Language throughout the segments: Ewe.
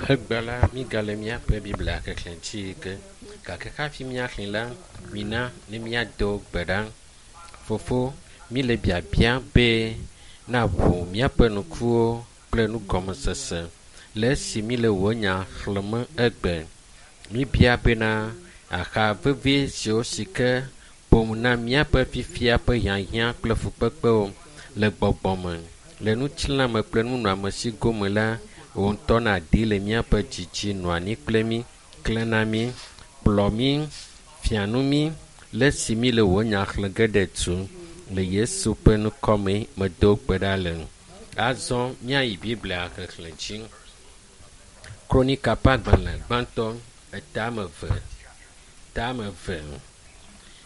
Egbe la, mígale míaƒe Biblia xexlẽ dzi ge. Gake hafi míaxlẽ la, mina ne míado gbe ɖa. Fofo, míle biabia be naʋu míaƒe ŋkuwo kple nugɔmesese le esi míle wò nya xlẽm egbe. Míbia bena axa vevi siwo si ke ƒom na míaƒe fifia ƒe hiahiã kple fukpekpewo le gbɔgbɔ me, le ŋutilãme kple nunɔamesi gome la, wò ŋutɔ nàdi le míaƒe dzi dzi nɔ anyi kple mí, klẽ na mí, kplɔ mí, fia nu mí le esi míle wò nya xlẽ ge ɖe tu. Le Yesu ƒe ŋkɔ me medo gbe ɖa le. Azɔ míayi Biblia xexlẽ dzi. Kronika ƒe agbalẽ gbãtɔ etame ve tame ve.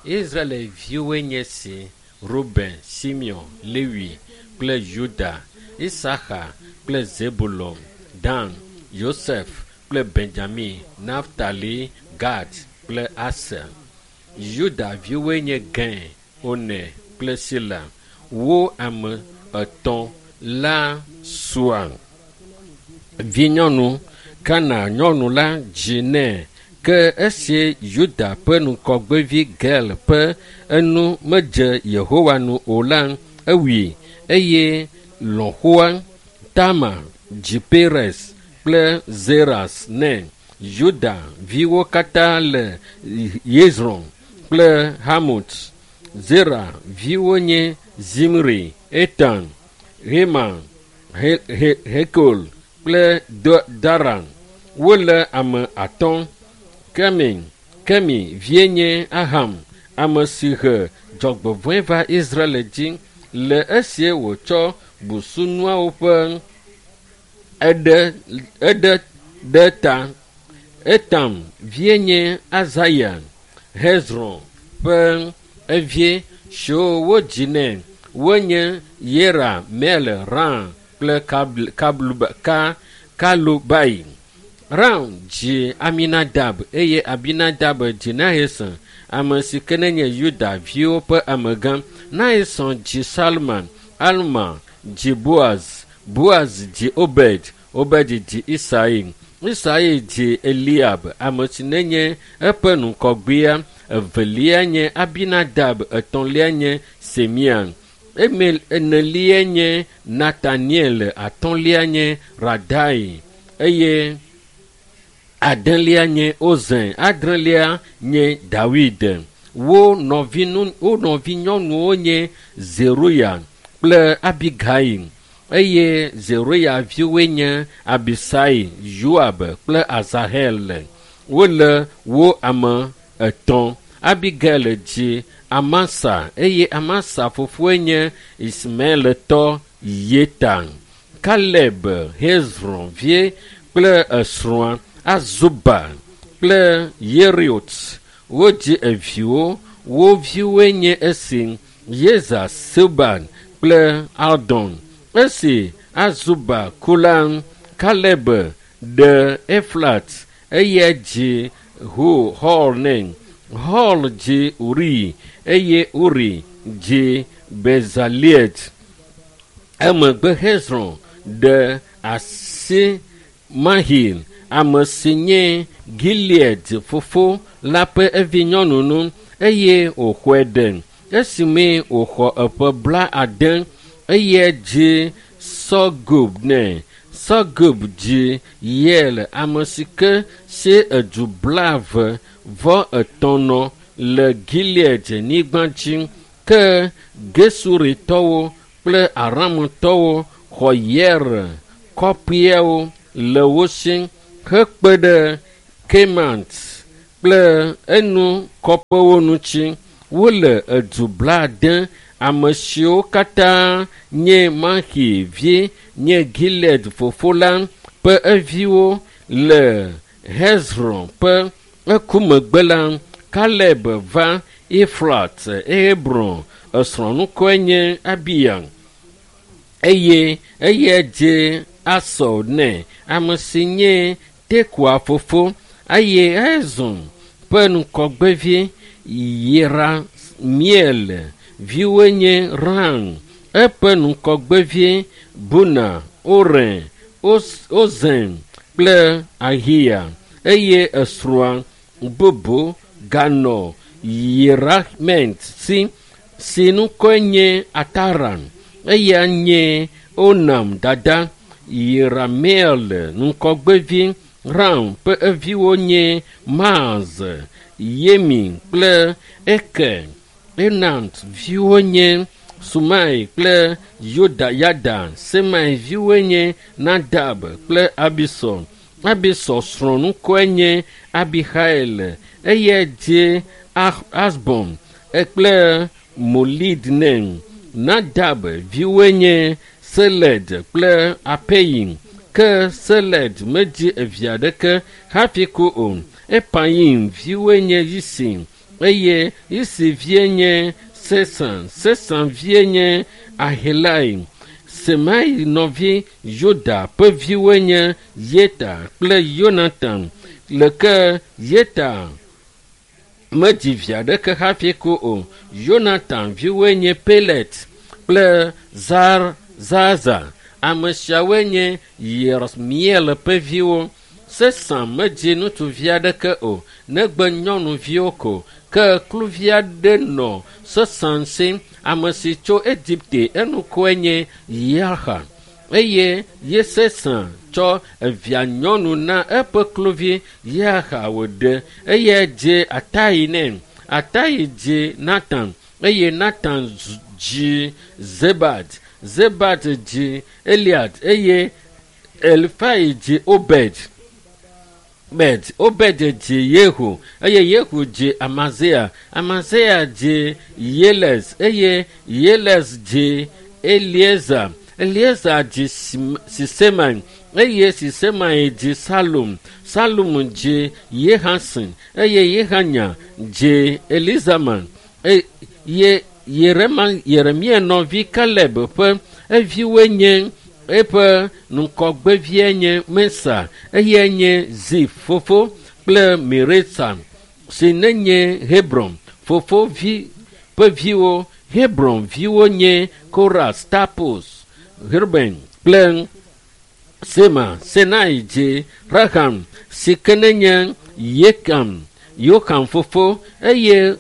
Israelviwoe nye si Ruben, Simeon, Lewi kple Yuda, Isaxa kple Zebulon, Dan, Yosef kple Benjamin, Naftali, Gad kple Aser. Yuda viwoe nye Gɛn, One kple Sila. Wo ame etɔ̃ la sua vinyɔnu Kana nyɔnu la dzi nɛ. Ke esi Yuda ƒe ŋgɔgbevi Gel ƒe enu medze Yehowa nu o la, ewui eye lɔ̃xoa Tamar dzi Perez kple Zeras nɛ. Yuda viwo katã le Yezron kple Hamut. Zera viwo nye Zimri, Etan, Heman, He He Hekol kple Daran. Wole ame atɔ̃. Kemi, Kemi vie nye Aham, ame si he dzɔgbevɔ̃e va Israel dzi le esi wòtsɔ busunuawo ƒe eɖe eɖe ɖe ta. Etam vie nye Azaya, Hezron ƒe evie siwo wodzi nɛ wonye Yerameel, Ram kple Kabluba, Ka, Kalubai. Ram dzi Aminadab eye Abinadab dzi Naheson, ame si ke nenye Yuda viwo ƒe amegã. Naheson dzi Salman, Alma dzi Boaz, Boaz dzi Obed, Obed dzi Isai. Isai dzi Eliab, ame si nenye eƒe ŋgɔgbea, evelia nye Abinadab, etɔ̃lia nye Semia. Emel enelia nye Nataniel, atɔ̃lia nye Radai eye adelia nye Ozen, adrelia nye Dawid. Wo nɔvinu wo nɔvinyɔnuwo nye Zeruya kple Abigail eye Zeruya viwoe nye Abisai, Yoab kple Azahel. Wole wo ame etɔ̃. Abigail dzi Amasa eye Amasa fofoe nye Ismaeletɔ Yeta. Kaleb Hezron vie kple esrɔ̃a Azuba kple Yeriot wodzi eviwo. Wo viwoe nye esi Yeza, Silban kple Aldon. Esi Azuba ku la, Kaleb ɖe Eflat eye dzi Hor nɛ. Hor dzi Uri eye Uri dzi Bezaliel. Emegbe Hezron ɖe asi Mahil, ame si nye Gilead fofo la ƒe vinyɔnu nu eye wòxɔe ɖe. Esime wòxɔ eƒe blaade eye dzi Segub nɛ. Segub dzi Yael, ame si ke si edu blaeve vɔ etɔ̃ nɔ le Gilead nyigba dzi. Ke Gesuritɔwo kple Aramtɔwo xɔ Yair kɔƒeawo le wo si hekpe ɖe Kemat kple enu kɔƒewo ŋuti. Wole edu blaade. Ame siwo katã nye Maxi vi nye Gilead fofo la ƒe eviwo le Hezron ƒe eku megbe la, Kaleb va Efrat, Hebron. Esrɔ̃ ŋkɔe nye Abia eye eya dze Asur nɛ, ame si nye Tekoa fofo eye Hezron ƒe ŋgɔgbevi Yeramiel viwoe nye Ram, eƒe ŋgɔgbevi Buna, Oren, Ozem kple Ahiya eye esrɔ̃a bubu ganɔ Yerahmeel si, si ŋkɔe nye Atara. Eya nye Onam dada. Yerameel ŋgɔgbevi Ram ƒe eviwo nye Maaz, Yemi kple Eker. Enat viwo nye Sumai kple Yoda Yada. Semai viwoe nye Nadab kple Abisur. Abisur srɔ̃ ŋkɔe nye Abihail. Eyae dzi Ahbon kple Molid nɛ. Nadab viwoe nye Seled kple Apayim. Ke Seled medzi evi aɖeke hafi ku o. Epayim viwoe nye Yisi eye Yisi vie nye Sesan. Sesan vie nye Ahelai. Semai nɔvi Yoda ƒe viwoe nye Yeta kple Yonatan. Le ke Yeta medzi vi aɖeke hafi ku o. Yonatan viwoe nye Pelet kple Zar Zaza. Ame siawoe nye Yerahmeel ƒe viwo. Sesan medzi ŋutsuvi aɖeke o, negbe nyɔnuviwo ko. Ke kluvi aɖe nɔ Sesan si, ame si tso Egipte, eŋkɔe nye Yarha. Eye Yesesan tsɔ evia nyɔnu na eƒe kluvi Yarha wòɖe. Eyae dzi Atai nɛ. Atai dzi Natan eye Natan dzi Zebad. Zebad dzi Eliad eye Elifai dzi Obed. Obed, Obed dzi Yehu eye Yehu dzi Amazia. Amazia dzi Yeles eye Yeles dzi Eliezer. Eliezer dzi Sisemai eye Sisemai dzi Salum. Salum dzi Yehasin eye Yehanya dzi Elizama. Eye Yerema, Yeremia nɔvi Kaleb ƒe eviwoe nye eƒe ŋgɔgbevie nye Mesa, eyae nye Zif fofo kple Meresa si nenye Hebron fofo vi ƒe viwo. Hebron viwo nye Koras, Tapus, Ruben kple Sema. Senai dzi Raham si ke nenye Yekam, Yoham fofo eye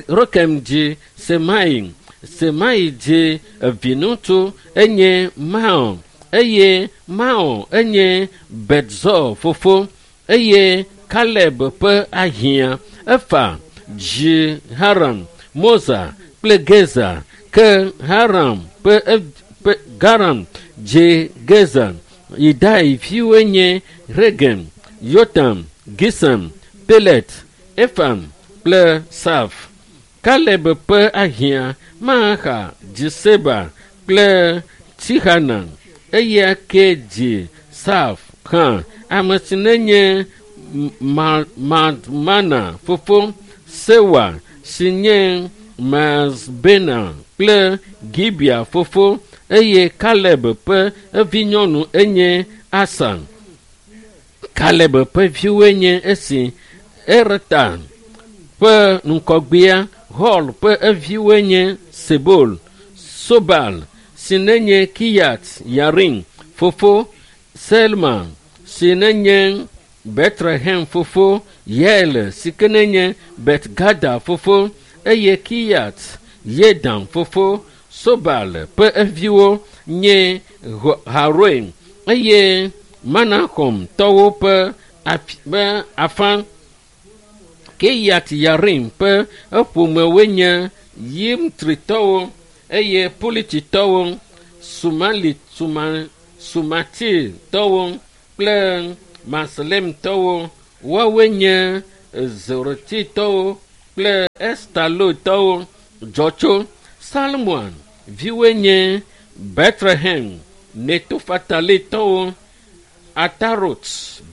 Rokem dzi Semai. Semai dzi eviŋutsu enye Maon eye Maon enye Betzor fofo eye Kaleb ƒe ahiã Efa dzi Haran, Moza kple Gezer. Ke Haran ƒe ƒe Garam dzi Gezer. Yidai viwoe nye Regem, Yotam, Gisam, Pelet, Efam kple Saf. Kaleb ƒe ahiã Maaxa dzi Seba kple Tihana. Eya ke dzi Saf hã, ame si nenye Madmana fofo, Sewa si nye Mazbena kple Gibea fofo eye Kaleb ƒe evinyɔnu enye Asa. Kaleb ƒe viwoe nye esi Ereta ƒe ŋgɔgbea Hor ƒe eviwoe nye Sebol, Sobal si nenye Kiyat Yarim fofo, Selma si nenye Betlehem fofo, Yael si ke nenye Betgada fofo eye Kiyat Yedan fofo. Sobal ƒe eviwo nye Haroe eye Manahomtɔwo ƒe afã. Kiyat Yarim ƒe eƒomewoe nye Yimtritɔwo eye Pulititɔwo, Sumali, Suma, Sumatitɔwo kple Maslemtɔwo. Woawoe nye Zerotitɔwo kple Estalotɔwo dzɔ tso. Salmon viwoe nye Betlehem, Netofatalitɔwo, Atarot,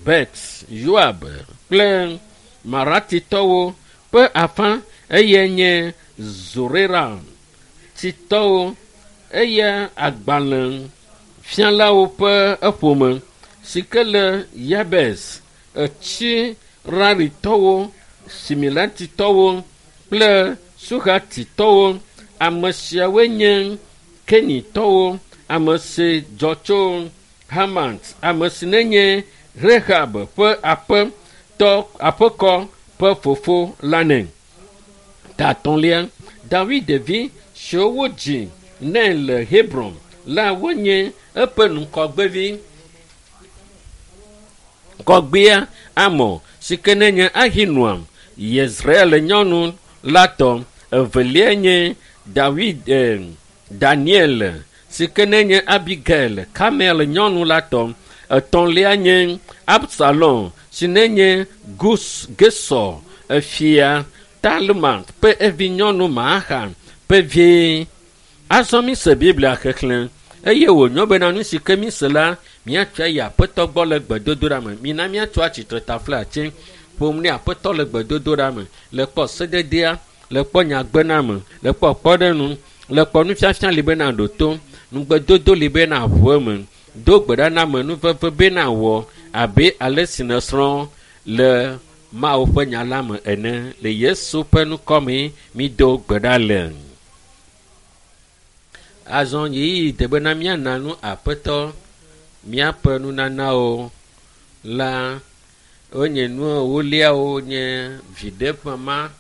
Bet, Yoab kple Maratitɔwo ƒe afã eye nye Zoreratitɔwo eye agbalẽfialawo ƒe eƒome si ke le Yabes, Etsiraritɔwo, Similatitɔwo kple Suhatitɔwo. Ame siawoe nye Kenitɔwo, ame si dzɔ tso Hamat, ame si nenye Rehab ƒe aƒetɔ aƒekɔ ƒe fofo la nɛ. Tatɔlia, David vi siwo wodzi nɛ le Hebron la wonye eƒe ŋgɔgbevi. Kɔgbea Amɔ si ke nenye Ahinoam, Yezreel nyɔnu la tɔ. Evelia nye Dawid eh, Daniel si ke nenye Abigail, Kamel nyɔnu la tɔ. Etɔ̃lia nye Absalom si nenye Gus Gesor efia Talma ƒe evi nyɔnu Maaxa ƒe vie. Azɔ mise Biblia xexlẽ eye wònyo bena nu si ke mise la míatsɔe yi aƒetɔ gbɔ le gbedodoɖa me. Mina míatso atsitre taflatse ƒom ne aƒetɔ le gbedodoɖa me le kpɔ sededea, le kpɔ nyagbename, le kpɔ kpɔɖeŋu, le kpɔ nufiafia li bena ɖo to, nugbedodo li bena ʋu eme. Do gbe ɖa na ame nuveve bena wɔ abe ale si nèsrɔ̃ le Mawu ƒe nya la me ene. Le Yesu ƒe ŋkɔ me mído gbe ɖa le. Azɔ ɣeyiɣi de bena míana nu aƒetɔ míaƒe nunanawo la wonye nu ewoliawo nye viɖe ƒe ma.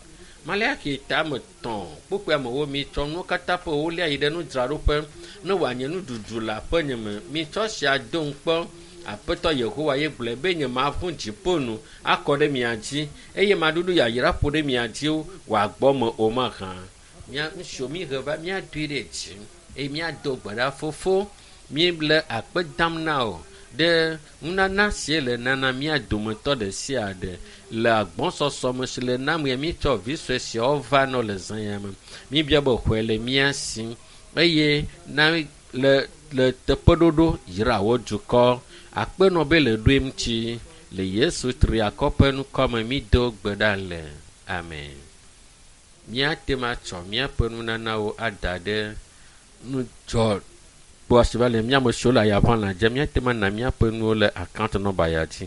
Maleaxi tame tɔ̃ kpukpui amewo mitsɔ nuwo katã ƒe ewolia yi ɖe nudzraɖoƒe ne wòanye nuɖuɖu le aƒenye me. Mitsɔ sia do ŋukpɔ. Aƒetɔ Yehowa ye gblɔe be nye maʋu dziƒo nu akɔ ɖe mia dzi eye maɖuɖu yayra ƒo ɖe mia dzi wòagbɔ me o mahã. Mía nu siwo míhe va míadoe ɖe dzi eye míado gbe ɖa fofo míele akpe dam na wò ɖe nunana si le nana mía dometɔ ɖe sia ɖe le agbɔsɔsɔ me si le nam ya míetsɔ vi sue siawo va nɔ le zã ya me. Míbia be xɔe le mía si eye na le le teƒeɖoɖo yra wò dukɔ. Akpenɔ be le ɖoe ŋuti le Yesu triakɔ ƒe ŋkɔ me mído gbe ɖa le. Amen. Míate ŋu atsɔ míaƒe nunanawo ada ɖe nudzɔ kpɔ si va le mía me siwo le ayaʋã dze míate ŋu ana míaƒe nuwo le account number ya dzi.